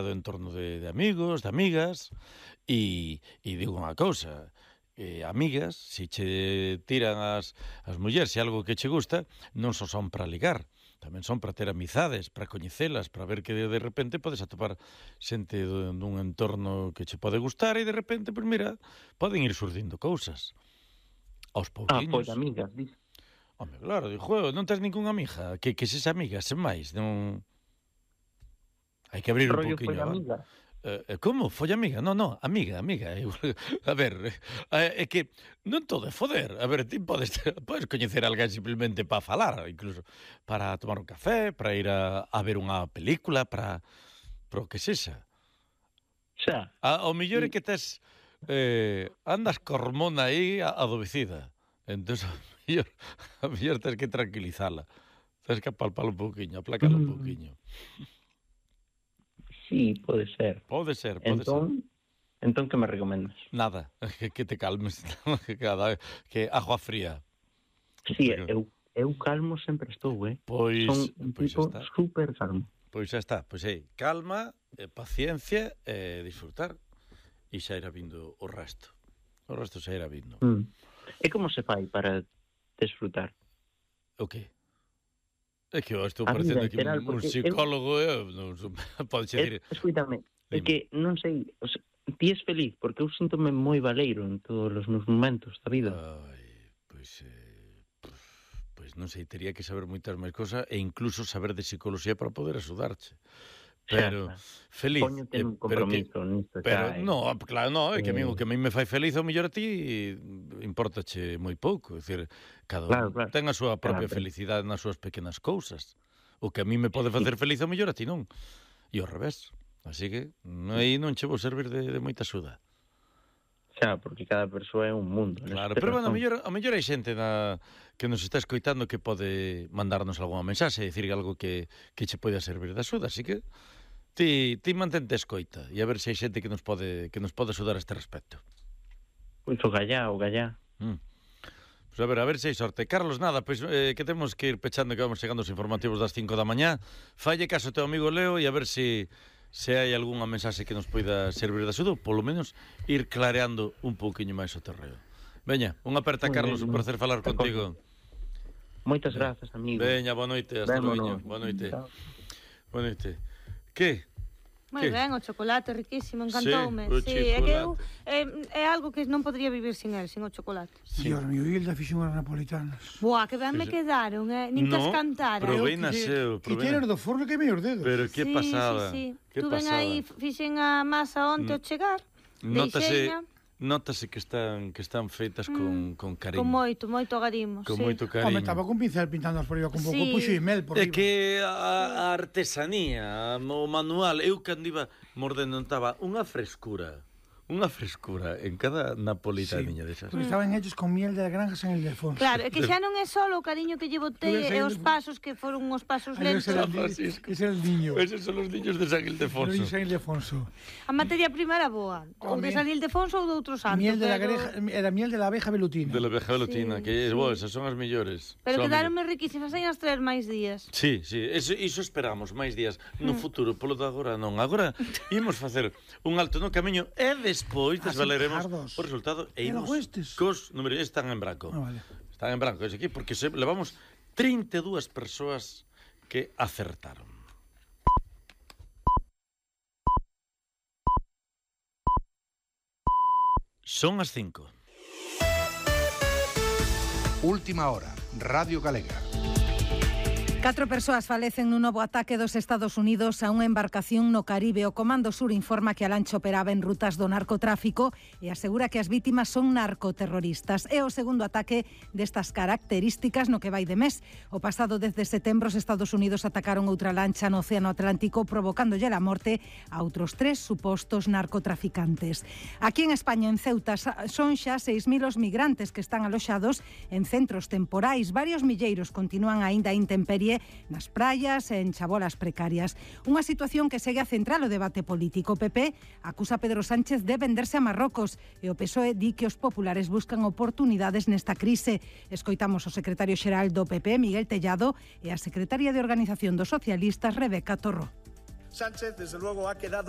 do entorno de amigos, de amigas, e digo unha cousa, amigas, se che tiran as mulleres se algo que che gusta, non só son para ligar, tamén son para ter amizades, para coñecelas, para ver que de repente podes atopar xente dun entorno que che pode gustar e de repente, pois mira, poden ir surdindo cousas. Aos pouquiños. Pois amigas, dis. Home, claro, digo, non tens ningunha amiga, que ses amiga, sen máis, non... Hai que abrir un pouquiño. Amiga. Como? Foi amiga? Non, amiga. A ver, é que non todo é foder. A ver, ti podes coñecer a alguén simplemente para falar, incluso para tomar un café, para ir a ver unha película, para o que sexa. Xa. O mellor é que tes andas co hormona aí adormecida. Entón, a mellor tens que tranquilizala. Tens que apalpala un pouquiño, aplacala un pouquiño. Sí, pode ser. Pode ser. Entón, que me recomendas? Nada, que te calmes. Que agua fría. Sí, eu calmo sempre estou, Pois, son un tipo super calmo. Pois xa está, calma, paciencia e disfrutar. E xa irá vindo o resto. O resto xa irá vindo. E como se fai para disfrutar? O que? É que eu estou parecendo aquí un psicólogo, podes dicir... Escuítame, é que non sei, ti és feliz, porque eu síntome moi baleiro en todos os meus momentos da vida. Pois non sei, teria que saber moitas máis cosas e incluso saber de psicología para poder axudarche. Pero feliz. Póñote un compromiso nisto. Pero non, claro, non, é que o que a mí me fai feliz ao mellor a ti importache moi pouco, é dicir, cada un ten a súa propia felicidade nas súas pequenas cousas. O que a mí me pode facer feliz ao mellor a ti non. E ao revés. Así que aí non che vou servir de moita axuda. Xa, porque cada persoa é un mundo. Claro, pero bueno, a mellor hai xente que nos está escoitando que pode mandarnos algunha mensaxe e dicir algo que che pode servir de axuda, así que ti mantente escoita e a ver se hai xente que nos pode axudar a este respecto. Pois o gallá. Pois a ver se hai sorte. Carlos, nada, pois que temos que ir pechando, que vamos chegando os informativos das 5 da mañá. Falle caso ao teu amigo Leo e a ver se hai algunha mensaxe que nos poida servir de axuda, polo menos ir clareando un pouquiño máis o terreo. Veña, unha aperta, Carlos, un placer falar contigo. Moitas grazas, amigo. Veña, boa noite, hasta logo. Boa noite. Boa noite. Que? Moi ben, o chocolate riquísimo, encantoume. Sí, é que eu é algo que non podría vivir sin el, sin o chocolate. Dios mío, Hilda fixo unhas napolitanas. Buah, que ben me quedaron, nin que as cantara. Provei na seu, Que tienes do forno que meus dedos. Pero que pasada. Sí. Tuven aí, fixen a masa onte ao chegar. Notase que están feitas con cariño. Con moito agarimo, con moito cariño. Home, estaba con pincel pintando por riba con pouco puxo e mel por riba. É que a artesanía, o manual, eu cando iba mordendo notaba unha frescura en cada napolitaniña desas. Porque estaban hechos con miel de granjas en Ildefonso. Claro, é que xa non é só o cariño que lle botei e os pasos que foron uns pasos lentos. Ese era el niño. Eses son os niños de San Ildefonso. A materia prima era boa. Ou de San Ildefonso ou de outro santo. Era miel de la abeja velutina. De la abeja velutina, que esas son as mellores. Pero quedaronme riquísimas, hai as traer máis días. Sí, iso esperamos, máis días. No futuro, polo de agora non. Agora imos facer un alto no camiño e despois desvaleremos o resultado e imos cos números. Están en branco. Están en branco ese aquí, porque levamos 32 persoas que acertaron. Son as 5. Última hora, Radio Galega. 4 persoas falecen nun novo ataque dos Estados Unidos a unha embarcación no Caribe. O Comando Sur informa que a lancha operaba en rutas do narcotráfico e asegura que as vítimas son narcoterroristas. É o segundo ataque destas características no que vai de mes. O pasado 10 de setembro os Estados Unidos atacaron outra lancha no Océano Atlántico provocándolle a morte a outros 3 supostos narcotraficantes. Aquí en España, en Ceuta, son xa 6.000 os migrantes que están aloxados en centros temporais. Varios milleiros continúan aínda a intemperie nas praias e en chabolas precarias. Unha situación que segue a central o debate político. O PP acusa a Pedro Sánchez de venderse a Marrocos e o PSOE di que os populares buscan oportunidades nesta crise. Escoitamos o secretario xeral do PP, Miguel Tellado, e a secretaria de Organización dos Socialistas, Rebeca Torró. Sánchez, desde luego, ha quedado